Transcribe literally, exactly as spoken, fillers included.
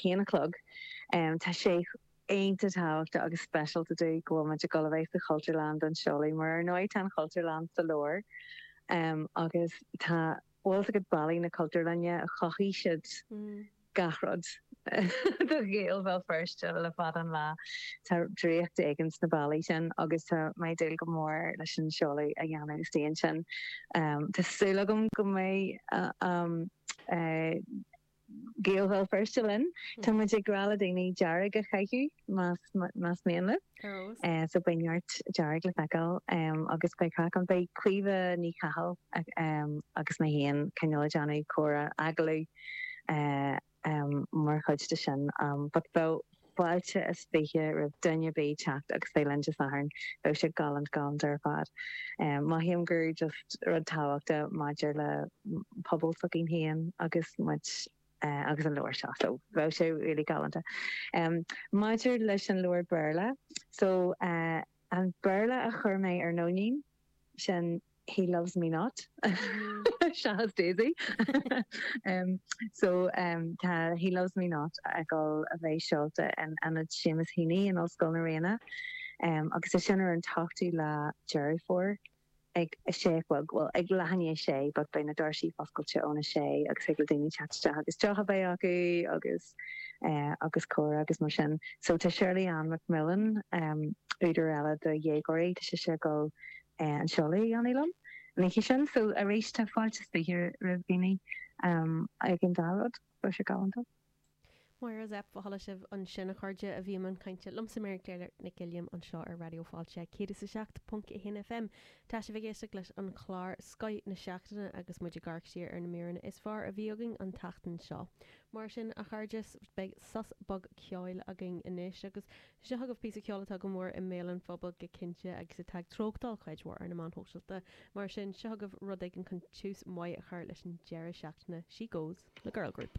haon a chlog. Um, tá sé iontach tábhachtach agus speisialta dúinn go bhfuil muid ag dul a bheith sa Chultúrlann don seoladh mar ar ndóigh tá an Chultúrlann sa lár um, agus tá bhfuil go ballaí na Cultúrlainne chothaigh siad Mm. gach rud do Ghaeil Bhéal Feirste le fada an lá Tá draíocht éigin sna ballaí sin agus tá mé ag dúil go mór leis an seoladh a dhéanamh istigh ansin. Um, Tá súil agam go mbeidh uh, um, uh, Gaeil Bhéal Feirste linn Tá muid ag rá le daoine dearg a chaitheamh más más mian leo. Arós. Uh, so beidh neart dearg le feiceáil um, agus beidh craic ann beidh Caoimhe Ní Chathail um, agus mé féin cineál déanamh comhrá agallamh uh, um, mar chuid de sin um, but bheadh fáilte is fiche roimh duine ar bith teacht agus bheith linn Dé Sathairn bheadh sé galánta galánta ar fad. Um, Mothaím gur just rud tábhachtach maidir le pobal s'againn féin agus muid uh, agus an leabhar seo so bheadh sé really galánta. Um, maidir leis an leabhar Béarla, so uh, an Béarla a chuir mé ar Nóinín sin He Loves Me Not Seachas Daisy um, so um, tá He Loves Me Not ag dul a bheith seolta in Ionad Seamus Heaney in Ollscoil na Ríona um, agus é sin ar an t-ochtú lá Deireadh Fómhair ag a sé well well ag leath sé but beidh na doirse oscailte óna sé agus ag le daoine teacht agus deoch a bheith acu agus uh, agus comhrá agus mar sin. So tá Shirley Ann McMillan um, údar eile do dhéagóirí tá sé go uh, an seoladh a dhéanamh liom. Ní sin so arís tá fáilte fiche roimh daoine um, ag an dá rud bheadh sé galánta. Máire Zepf chuala sibh ansin a chairde a bhí ag caint liomsa Mary Claire Nic Uilliam anseo ar Raidió Fáilte céad is a seacht ponc a haon FM. Tá sibh ag éisteacht leis an chlár Scoth na Seachtaine agus muid ag amharc siar ar na míreanna is fearr a bhí againn an tseachtain seo. Mar sin a chairde beidh sos beag ceoil againn anois agus seo chugaibh píosa ceoil atá go mór i mbéal an phobail go cinnte agus atá ag treochtáil cuid mhór ar na meáin shóisialta. Mar sin seo chugaibh rud éigin chun tús maith a chur leis an deireadh seachtaine She Goes le Girl Group.